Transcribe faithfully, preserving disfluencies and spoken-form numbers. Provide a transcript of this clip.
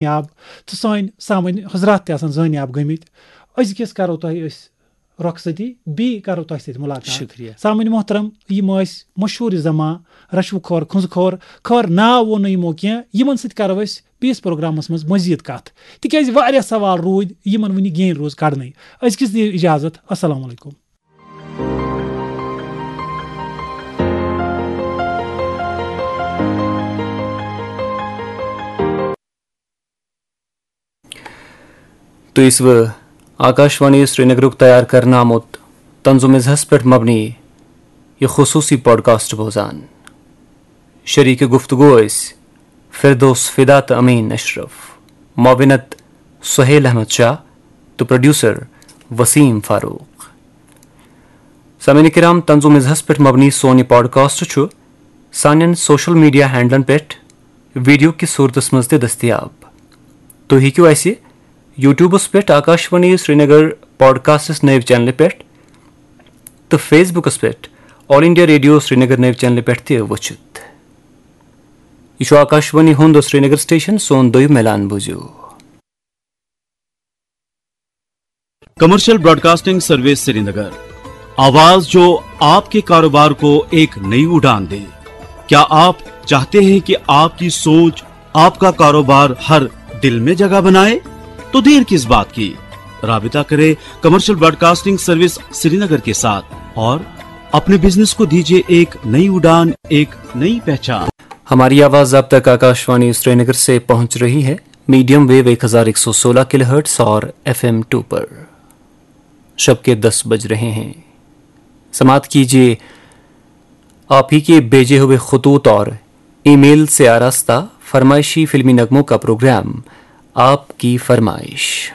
یاب، تہٕ سٲنۍ سامعیٖن حضرات تہِ آسَن زٲنۍ یاب گٔمٕتۍ۔ أزکِس کَرو تۄہہِ أسۍ رۄخصتی، بیٚیہِ کَرو تۄہہِ سۭتۍ مُلاقات۔ شُکریہ۔ سامعیٖن محترم، یِم ٲسۍ مشہوٗر زماں، رشوٕ خور، کھُنٛزٕ خور، خٲر ناو ووٚن نہٕ یِمو کینٛہہ، یِمَن سۭتۍ کَرو أسۍ بیٚیِس پروگرامَس منٛز مٔزیٖد کَتھ، تِکیٛازِ واریاہ سوال روٗدۍ یِمَن وٕنہِ گینۍ روٗز کَڑنٕے۔ أزکِس دِیِو اِجازت، السلام علیکم۔ تُہۍ ٲسوٕ آکاشوانی سرینگرُک تیار کرنہٕ آمُت طنز و مزاحس پٮ۪ٹھ مبنی یہِ خصوٗصی پوڈکاسٹ بوزان۔ شریک گفتگو ٲسۍ فردوس فدا تہٕ امین اشرف، معاونت سہیل احمد شاہ تہٕ پروڈیوسر وسیم فاروق۔ سامعین کرام، طنز و مزاحس پٮ۪ٹھ مبنی سون یہِ پوڈکاسٹ چھُ سانٮ۪ن سوشل میڈیا ہینڈلن پٮ۪ٹھ ویڈیو کِس صوٗرتس منٛز تہِ دٔستیاب۔ تُہۍ ہیٚکِو اَسہِ YouTubeس پٮ۪ٹھ آکاشوانی سرینگر پوڈکاسٹس نٔوۍ چینلہِ پٮ۪ٹھ تہٕ Facebookس پٮ۪ٹھ آل انڈیا ریڈیو سرینگر نٔوۍ چینلہِ پٮ۪ٹھ تہِ وٕچھِتھ۔ یہِ چھُ آکاشوانی ہُنٛد سرینگر سٹیشن، سون دوٚیُم اعلان بوٗزِو۔ کمرشل براڈکاسٹنگ سروس سرینگر، آواز جو آپ کے کاروبار کو ایک نئی اڑان دے۔ کیا آپ چاہتے ہیں کہ آپ کی سوچ آپ کا کاروبار ہر دل میں جگہ بنائے؟ تو دیر کس بات کی؟ رابطہ کریں کمرشل براڈکاسٹنگ سروس سرینگر کے ساتھ اور اپنے بزنس کو دیجیے ایک نئی اڑان، ایک نئی پہچان۔ ہماری آواز اب تک آکاشوانی سرینگر سے پہنچ رہی ہے، میڈیم ویو ایک ہزار ایک سو سولہ کلو ہرٹز اور ایف ایم ٹو پر۔ شب کے دس بج رہے ہیں۔ سماعت کیجیے آپ ہی کے بھیجے ہوئے خطوط اور ای میل سے آراستہ فرمائشی فلمی نغموں کا پروگرام آپ کی فرمائش۔